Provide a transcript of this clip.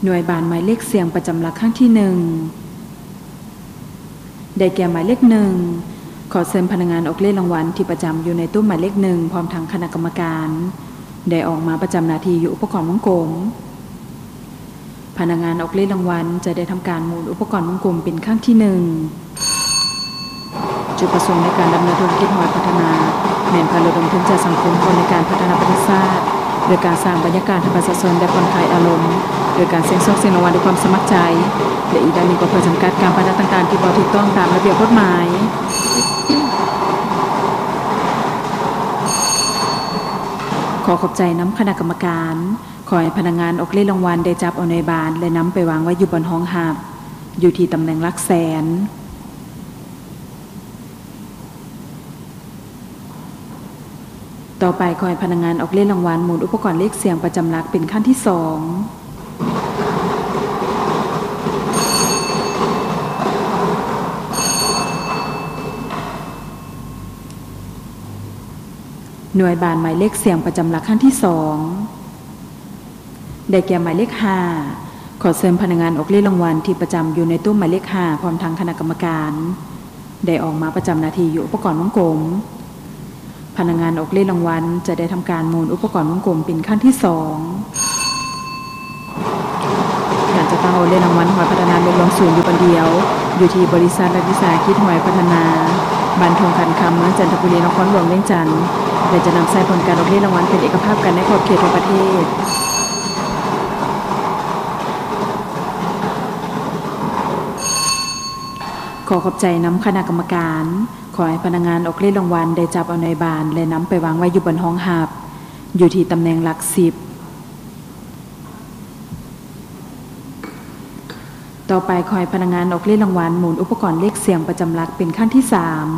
ໜ່ວຍບານໝາຍເລກສ່ຽງປະຈຳຫຼັກຄັ້ງທີໜຶ່ງ ໄດ້ແກ່ໝາຍເລກໜຶ່ງ. ຂໍເຊີນພະນັກງານອອກເລກລາງວັນທີ່ປະຈຳຢູ່ໃນໂຕະໝາຍເລກໜຶ່ງ ພ້ອມທັງຄະນະກຳມະການ ໄດ້ອອກມາປະຈຳໜ້າທີ່ຢູ່ອຸປະກອນວົງກົມ. ພະນັກງານອອກເລກລາງວັນຈະໄດ້ທຳການໝູນອຸປະກອນວົງກົມເປັນຄັ້ງທີໜຶ່ງ. ຈຸດປະສົງໃນການດຳເນີນທຸລະກິດຫວຍພັດທະນາ ແມ່ນເພື່ອລະດົມທຶນຈາກສັງຄົມເຂົ້າໃນການພັດທະນາປະເທດຊາດ ໂດຍການສ້າງບັນຍາກາດໃຫ້ປະຊາຊົນໄດ້ຜ່ອນຄາຍອາລົມ ໂດຍການສ່ຽງໂຊກສ່ຽງລາງວັນດ້ວຍຄວາມສະໝັກໃຈ ແລະ ອີກດ້ານໜຶ່ງກໍເພື່ອຈຳກັດການປະນະຕ່າງໆທີ່ບໍ່ຖືກຕ້ອງຕາມລະບຽບກົດໝາຍ. ຂໍຂອບໃຈນຳຄະນະກຳມະການ. ຂໍໃຫ້ພະນັກງານອອກເລກລາງວັນໄດ້ຈັບເອົາໜ່ວຍບານ ແລະ ນຳໄປວາງໄວ້ຢູ່ບ່ອນຮອງຮັບ ຢູ່ທີ່ຕຳແໜ່ງຫຼັກແສນ. ຕໍ່ໄປ ຂໍໃຫ້ພະນັກງານອອກເລກລາງວັນໝູນອຸປະກອນເລກສ່ຽງປະຈຳຫຼັກເປັນຄັ້ງທີສອງ. ໜ່ວຍບານໝາຍເລກສ່ຽງປະຈຳຫຼັກຄັ້ງທີສອງ ໄດ້ແກ່ໝາຍເລກຫ້າ. ຂໍເຊີນພະນັກງານອອກເລກລາງວັນທີ່ປະຈຳຢູ່ໃນໂຕະໝາຍເລກຫ້າ ພ້ອມທັງຄະນະກຳມະການ ໄດ້ອອກມາປະຈຳໜ້າທີ່ຢູ່ອຸປະກອນວົງກົມ. ພະນັກງານອອກເລກລາງວັນຈະໄດ້ທຳການໝູນອຸປະກອນວົງກົມເປັນຄັ້ງທີສອງ. ການຈັດຕັ້ງອອກເລກລາງວັນຫວຍພັດທະນາແມ່ນລວມສູນຢູ່ບ່ອນດຽວ ຢູ່ທີ່ບໍລິສັດ ລັດວິສາຫະກິດຫວຍພັດທະນາ ບ້ານທົ່ງຂັນຄຳ ເມືອງຈັນທະບູລີ ນະຄອນຫຼວງວຽງຈັນ ແລະ ຈະນຳໃຊ້ຜົນການອອກເລກລາງວັນເປັນເອກະພາບກັນໃນຂອບເຂດທົ່ວປະເທດ. ຂໍຂອບໃຈນຳຄະນະກຳມະການ. ຂໍໃຫ້ພະນັກງານອອກເລກລາງວັນໄດ້ຈັບເອົາໜ່ວຍບານ ແລະ ນຳໄປວາງໄວ້ຢູ່ບ່ອນຮອງຮັບ ຢູ່ທີ່ຕຳແໜ່ງຫຼັກສິບ. ຕໍ່ໄປ ຂໍໃຫ້ພະນັກງານອອກເລກລາງວັນໝູນອຸປະກອນເລກສ່ຽງປະຈຳຫຼັກເປັນຄັ້ງທີສາມ.